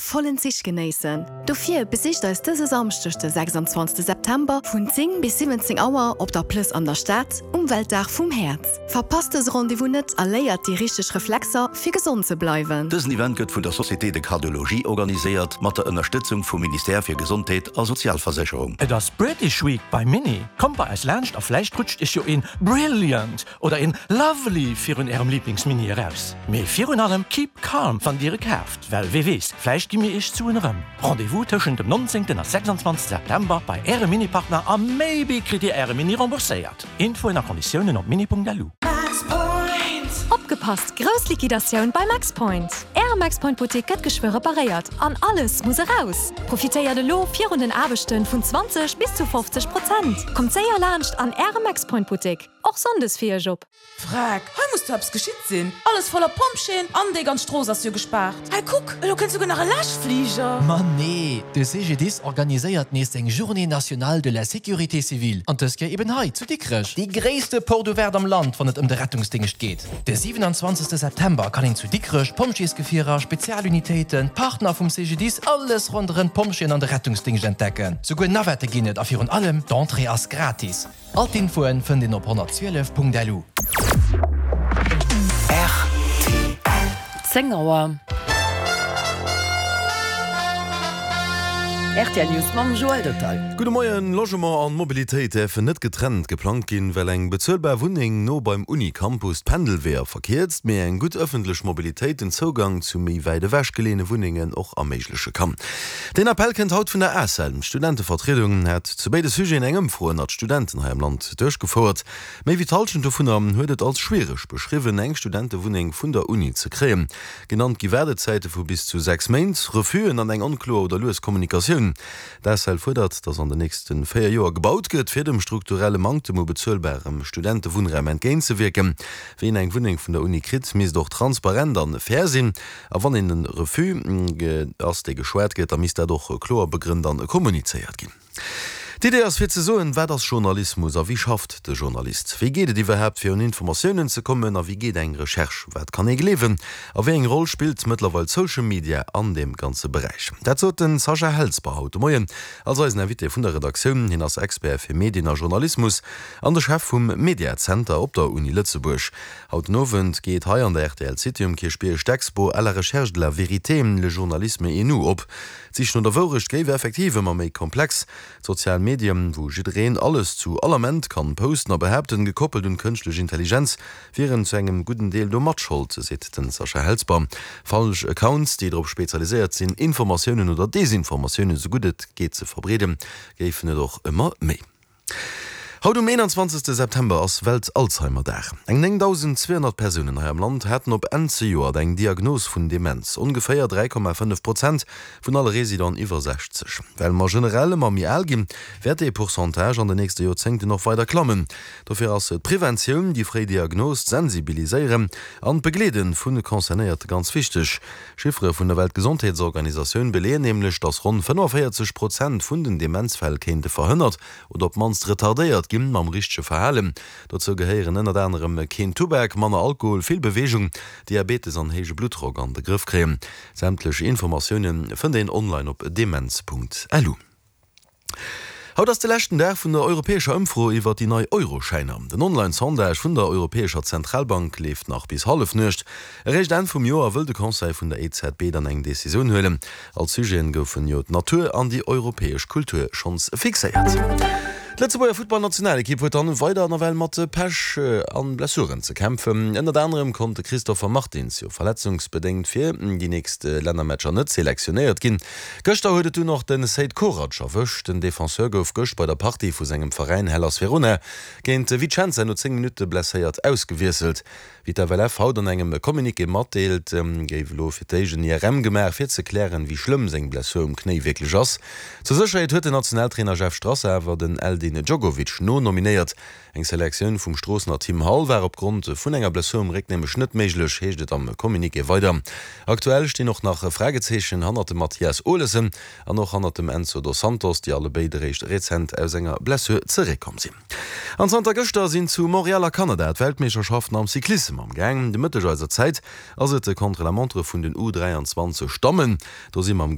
vollen Zich genéissen. Dofir besicht eis dëse Samschdeg de 26 September vun 10 bis 17 Auer op der Plëss an der Stad um Weltdag vum Häerz. Verpasst dëse Rendez-vous net a léiert déi richteg Reflexer fir gesond ze bleiwen. Dësen Event gëtt vun der Société de Cardiologie organiséiert, mat der Ënnerstëtzung vum Ministère fir Gesondheet a Sozialversécherung. Et ass British Week bei Mini. Kommt bei eis laanscht a vläicht rutscht iech jo een Brilliant oder een Lovely virun ärem Lieblingsmini eraus. Mee virun allem keep calm wann dir e kaaft, well wee weess, vläicht gi mir iech d'Suen erëm. Rendez-vous tëschent dem 19 a 26 September bei ärem Mini-Partner a maybe kritt dir äre Mini rembourséiert. Infoen a Konditiounen op mini.lu. Opgepasst! Grouss Liquidatioun bei Maxpoint! Äre Maxpoint Buttek gëtt geschwë reparéiert an alles muss eraus! Profitéiert elo virun den Aarbechten vun 20 bis zu 50 Prozent! Kommt séier laanscht an Äre Maxpoint Buttek, och Sonndes fir Iech op! Freck, hei muss do eppes geschitt sinn. Alles voller Pompjeeën an déi ganz Strooss ass jo gespaart. Hei kuck, elo kënnt souguer nach e Läschfliger. Ma nee, de CGDIS organiséiert nees seng Journée nationale de la sécurité civile an dës Kéier eben hei zu Dikrech. Déi gréisste Porte ouverte am Land, wann et ëm de Rettungsdéngscht geet. De 27 September kann een zu Dikrech Pompjeesgefierer, Spezialunitéiten, Partner vum CGDIS, alles ronderëm d'Pompjeeën an de Rettungsdéngscht entdecken. Souguer Navette ginn et a virun allem, d'Entrée ass gratis. All d'Infoen fënnt een op 112.lu. Rtl. 10 Auer. Rtl News mam Joël Dottal. Gudde Moien. Logement an Mobilitéit däerfen net getrennt geplangt ginn, well eng bezuelbar Wunneng no beim Uni-Campus d'Pendelweeër verkierzt, mee eng gutt ëffentlech Mobilitéit den Zougang zu méi wäit ewech geleeëne Wunnengen och erméigleche kann. Deen Appell kënnt haut vun der ACEL. D'Studentevertriedung hat zu béide Sujeten eng Ëmfro ënnert Studenten hei am Land duerchgefouert. Méi wéi d'Hallschent dovunner huet et als schwiereg beschriwwen, eng Studentewunneng vun der Uni ze kréien. Genannt gi Waardezäite vu bis zu 6 Méint, Refusen an eng onkloer oder lues Kommunikatioun. D'ACEL fuerdert, datt an den nächste 4 Joer gebaut gëtt, fir dem strukturelle Manktem u bezuelbarem Studentewunnraum entgéintzewierken. Wien eng Wunneng vun der Uni kritt, misst och transparent an fair sinn. A wann een e Refus ass, dee geschwat gëtt, da misst dat och kloer begrënnt an kommunizéiert ginn. D'Idee ass fir ze soen, wat ass Journalismus a wéi schafft de Journalist? Wéi geet et iwwerhaapt fir un Informatiounen ze kommen a wéi geet eng Recherche? Wat kann ee gleewen a wéi eng Roll spillt mëttlerweil Social Media an deem ganze Beräich? Dat sot de Sascha Helsper haut de Moien als eisen Invité vun der Redaktioun. Hien ass Expert fir Medien a Journalismus an de Chef vum Media Center op der Uni Lëtzebuerg. Haut den Owend geet hei an der rtl City um Kierchbierg d'Expo À la recherche de la vérité, le journalisme et nous op. D'Sich no der Wourecht géif effektiv ëmmer méi komplex. D'sozial Medien, wou jiddereen alles zu all Ament kann posten a behaapten, gekoppelt un d'kënschtlech Intelligenz, wieren zu engem gudden Deel do Matschold, seet den Sascha Helsper. Falsch Accounts, déi drop spezialiséiert sinn, Informatiounen oder Desinformatiounen esou gutt et geet ze verbreeden, géifen et och ëmmer méi. Haut um 21 September ass Welt-Alzheimer-Dag. Eng 9.200 Persounen hei am Land haten op Enn zejoert eng Diagnos vun Demenz, ongeféier 3,5 Prozent vun alle Residenten iwwer 60. Well mer generell ëmmer méi al ginn, wäert dee Pourcentage an de nächste Joerzéngten och weider klammen. Dofir ass d'Preventioun, déi fréi Diagnos, d'Sensibiliséieren an d'Begleede vu Concernéierte ganz wichteg. Chiffere vun der Weltgesondheetsorganisatioun beleeën nämlech, datt ronn 45 Prozent vun den Demenzfäll kéinte verhënnert oder op d'mannst retardéiert ginn mam richtege Verhalen. Dozou gehéieren ënnert anerem keen Tubak, manner Alkohol, vill Beweegung, Diabetes an héije Bluttdrock an de Grëff kréien. Sämtlech Informatioune fënnt een online op demenz.lu. Haut ass de leschten Dag vun der europäescher Ëmfro iwwer déi nei Euroschäiner. Den Online-Sondage vun der Europäescher Zentralbank leeft nach bis Hallefnuecht. Eréischt Enn vum Joer wëll de Conseil vun der EZB dann eng Decisioun huelen. Als Sujeten goufen jo d'Natur an déi europäesch Kultur schonns fixéiert. D'Lëtzebuerger Futtballnationalekipp huet dann weider nawell mat Pech an Blessuren ze kämpfen. Ënnert anerem konnt de Christopher Martins jo verletzungsbedéngt fir déi nächst Lännermatcher net selektionéiert ginn. Gëschter huet et dunn och de Seid Korac erwëscht. Den Defenseur gouf gëscht bei der Partie vu sengem Veräin Hellas Verona géint Vicenza no 10 Minutte blesséiert ausgewiesselt. Wéi d'FLF haut an engem Communiqué matdeelt, géif elo fir d'éischt en IRM gemaach, fir ze klären, wéi schlëmm seng Blessur um Knéi wierklech ass. Zur Sécherheet huet den Nationaltrainer Jeff Strasser awer den Eldin Djogovic nonominéiert. Eng Selektioun vum Stroossener Tim Hall war opgrond vun enger Blessur um Réck nämlech net méiglech, heescht et am Communiqué weider. Aktuell stinn och nach Fragezeechen hannert dem Mathias Olesen an och hannert dem Enzo Dos Santos, déi allebéid eréischt rezent aus enger Blessur zeréckkomm sinn. An zanter gëschter sinn zu Montréal a Kanada d'Weltmeeschterschaften am Cyclissem am Gaang. De Mëtteg eiser Zäit ass et de Contre-la-montre vun den U 23 Dammen. Do si mam.